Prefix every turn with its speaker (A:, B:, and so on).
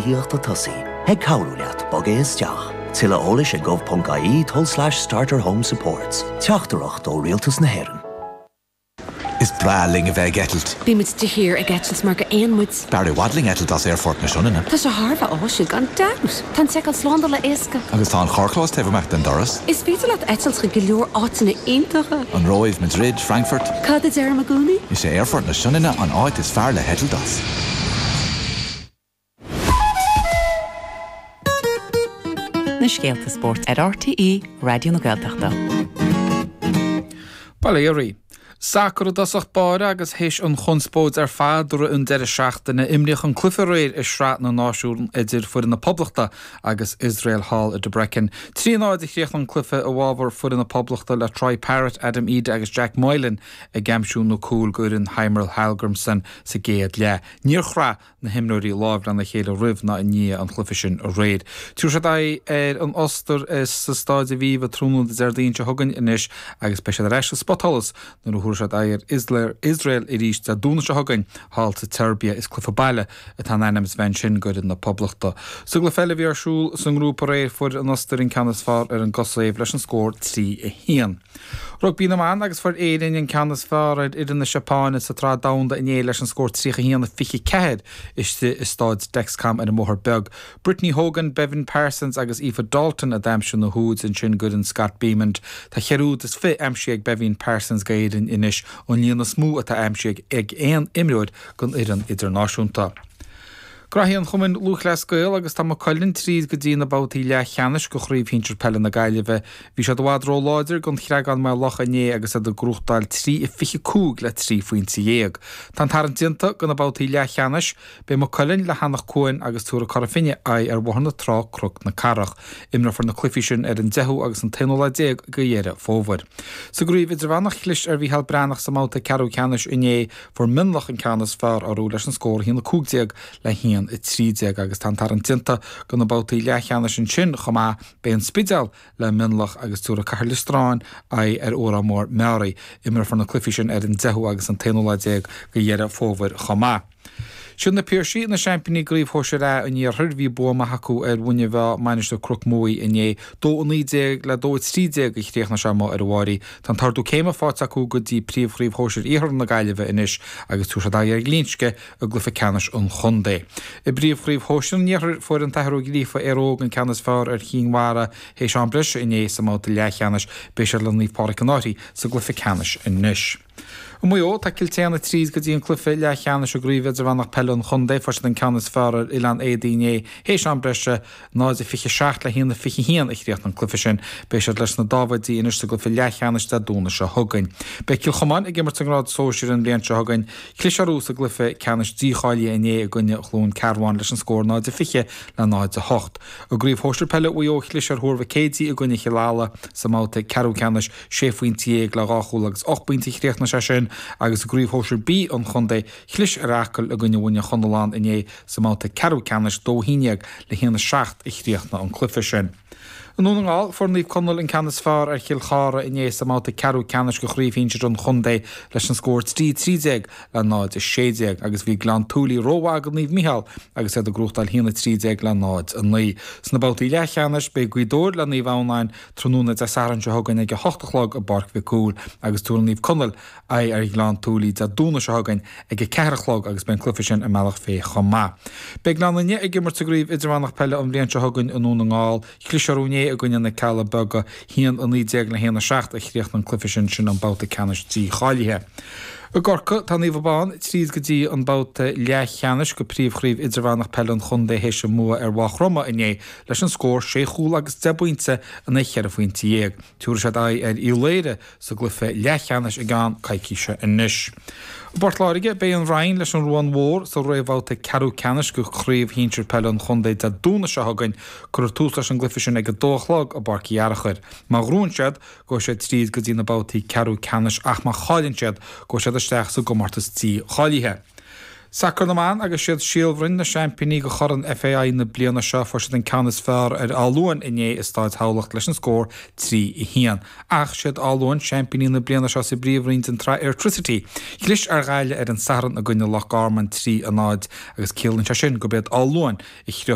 A: tithíochta tosaigh, ag cabhrú leat bogadh isteach. Tuilleadh eolais ag gov.ie tulslais starter home supports. Teachtaireacht ó Rialtas na hÉireann.
B: Is breá linn a bheith ag eitilt.
C: Bímid de shíor ag eitilt mar gur éin muid.
B: B'fhearr i bhfad linn eitilt as Aerfort na Sionainne.
C: Tá sé thar a bheith áisiúil, gan dabht! Tá an tseiceáil slándála éasca.
B: Agus tá an carrchlós taobh amuigh den doras.
C: Is féidir leat eitilt chuig go leor áiteanna iontacha.
B: An Róimh, Madrid, Frankfurt.
C: Cad a deirim i gcónaí?
B: Is é Aerfort na Sionainne an áit is fearr le heitilt as.
D: Na scéalta spóirt ar RTÉ Raidió na Gaeltachta.
E: Bail ó Dhia oraibh. Sacar i dtosach báire agus théis an chonspóid ar fad i rith an deireadh seachtaine, imríodh an cluiche aréir i Sraith na Náisiún idir foireann na Poblachta agus Iosrael thall i Debrecen. 3 0 a chríochnaigh an cluiche i bhfabhar foireann na Poblachta le Troy Parrott, Adam Idah agus Jack Moylan ag aimsiú na cúil d'fhoireann Heimir Hallgrímsson sa gcéad leath. Níor chraith na himreoirí lámh lena chéile roimh ná i ndiaidh an chluiche sin aréir. Tabharfaidh siad aghaidh ar an Ostair sa Stáid Aviva tráthnóna Déardaoin seo chugainn anois agus beidh siad ar ais sa spotsholas nuair a thabharfaidh siad aghaidh ar Iosrael arís Dé Domhnaigh seo chugainn thall sa tSeirbia. Is cluiche baile atá in ainm is a bheith ansin d'fhoireann na Poblachta. Sa gcluiche eile a bhí ar siúl sa ngrúpa aréir fuair an Ostair an ceann is fearr ar an gCosaiv leis an scór 3, 1. Rugbaí na mBan agus fuair Éirinn an ceann is fearr ar fhoireann na Seapáine sa tSraith Domhanda inné leis an scór 31-24 istigh i Stáid Dexcom ar an mBóthar Beag. Brittany Hogan, Beibhinn Parsons agus Aoife Dalton a d'aimsigh na húid ansin d'fhoireann Scott Bemand. Tá cheithre úd is fi aimsithe ag Beibhinn Parsons d'Éirinn anois, an líon is mó atá aimsithe ag aon imreoir don fhoireann idirnáisiúnta. Graithí an Chumainn Lúthchleas Gael agus tá Maigh Cuilinn tríd go dtí na babhtaí leathcheannais de Chraobh Shinsir Peile na Gaillimhe. Bhí siad i bhfad ró-láidir don Chreagán-Maigh Locha inné agus iad ag gnóthachtáil 3 25 le 13 phointe. Tá an tarraingt déanta do na babhtaí leathcheannais. Beidh Maigh Cuilinn le hEanach Cuain agus tabharfaidh Cora Finne aghaidh ar Bhóthar na Trá Cnoc na Cathrach. Imreofar na cluichí sin ar an 10ú agus an t-aonú lá déag de Dheireadh Fómhair. Sa gcraobh idirmheánach chlis ar Mhícheál Breathnach sa mbabhta ceathrú ceannais inné. Fuair Mionlach an ceann is fearr orthu leis an scór 1-15 le 1-13 agus tá an tarraingt déanta do na babhtaí leathcheannais ansin chomh maith. Beidh an Spidéal le Mionlach agus tabharfaidh Cathair Loistreáin aghaidh ar Órán Mór Meáraí. Imreofar na cluichí sin ar an 10ú agus an t-aonú lá déag de Dheireadh Fómhair chomh maith. Siad na Piarsaigh na seaimpíní i gCraobh Shóisir A an Iarthair. Bhí bua maith acu ar Mhuine Mheá, Mainistir Chnoc Muaidh inné. 2-19 le 2-13 a chríochnaigh sé amuigh ar an bhFáirí. Tá an t-ardú céime faighte acu go dtí Príomh-Chraobh Shóisir Iarthar na Gaillimhe anois agus tabharfaidh siad aghaidh ar Ghlinsce i gcluiche ceannais an chontae. I bPríomh-Chraobh Shóisir an Iarthair, fuair an tAthair Ó Gríofa, Éire Óg an ceann is fearr ar Chinn Mhara théis am breise inné sa mbabhta leathcheannais. Beidh siad le Naomh Pádraig an Fhairche sa gcluiche ceannais anois. I Maigh Eo, tá Cill tSéadhna tríd go dtí an cluiche leathcheannais i gCraobh Idirmheánach Peile an Chontae. Fuair siad an ceann is fearr ar Oileán Éadaí inné théis am breise, 0-27 le 1-21 a chríochnaigh an cluiche sin. Beidh siad leis na Dáibhéidí anois sa gcluiche leathcheannais Dé Domhnaigh seo chugainn. Beidh Cill Chomáin ag imirt sa ngrád sóisir an bhliain seo chugainn. Chlis orthu sa gcluiche ceannais dícháilithe inné i gcoinne Chluain Cearbán leis an scór 0-20 le 0-8. I gCraobh Shóisir Peile Mhaigh Eo chlis ar Thuar Mhic Éadaigh i gcoinne Chill Ala sa mbabhta ceathrú ceannais. 16 phointe le 2 chúl agus 8 bpointe a chríochnaigh sé sin agus i gCraobh Shóisir B an chontae, chlis ar Acaill i gcoinne Mhuine Chonalláin inné sa mbabhta ceathrú ceannais, 2-11 le 1-7 a chríochnaigh an cluiche sin. I nDún na nGall, fuair Naomh Conaill an ceann is fearr ar Chill Chartha inné sa mbabhta ceathrú ceannais de Chraobh Shinsir an chontae leis an scór 3-13 le 0-16 agus bhí Gleann tSúilí rómhaith do Naomh Micheál agus iad ag gnóthachtáil 1-13 le 0-9. Sna babhtaí leathcheannais, beidh Gaoth Dobhair le Naomh Adhamhnáin Tráthnóna Dé Sathairn seo chugainn ag a hocht a chlog i bPáirc Mhic Cumhaill agus tabharfaidh Naomh Conaill aghaidh ar Ghleann tSúilí Dé Domhnaigh seo chugainn ag a 4 a chlog agus beidh an cluiche sin i mBealach Féich chomh maith. Beidh Gleann Fhinne ag imirt sa gCraobh Idirmheánach Peile an bhliain seo chugainn i nDún na nGall. Chlis orthu inné i gcoinne na Cealla Beaga, 1-19 le 1-7 a chríochnaigh an cluiche sin, sin an babhta ceannais dícháilithe. I gCorcaigh, tá Naomh Abán tríd go dtí an babhta leathcheannais de Príomh-Chraobh Idirmheánach Peile an Chontae théis a mbua ar Mhaigh Chromtha inné leis an scór sé chúl agus 10 bpointe in aghaidh cheithre phointe dhéag. Tabharfaidh siad aghaidh ar Uíbh Laoghaire sa gcluiche leathcheannais i gceann coicíse anois. I bPort Láirge, beidh an Rinn leis an Ruán Mhór sa réamhbhabhta ceathrú ceannais de Chraobh Shinsir Peile an Chontae Dé Domhnaigh seo chugainn. Cuirfear tús leis an gcluiche sin ag 2 a chlog i bPáirc Uí Fhearchair. Má ghnóthaíonn siad, gabhfaidh siad tríd go dtí na babhtaí ceathrú ceannais ach má chailleann siad, gabhfaidh siad isteach sa gcomórtas dícháilithe. Sacar na mBan agus siad Síol Bhroin na seaimpíní de Chorn FAI na bliana seo. Fuair siad an ceann is fearr ar Áth Luain inné i Stáid Thamhlacht leis an scór 3, 1. Ach siad Áth Luain seaimpíní na bliana seo sa bpríomhroinn den tsraith Airtricity. Chlis ar Ghaillimh ar an Satharn i gcoinne Loch Garman 3, 0 agus ciallaíonn sé sin gurb iad Áth Luain a shroich.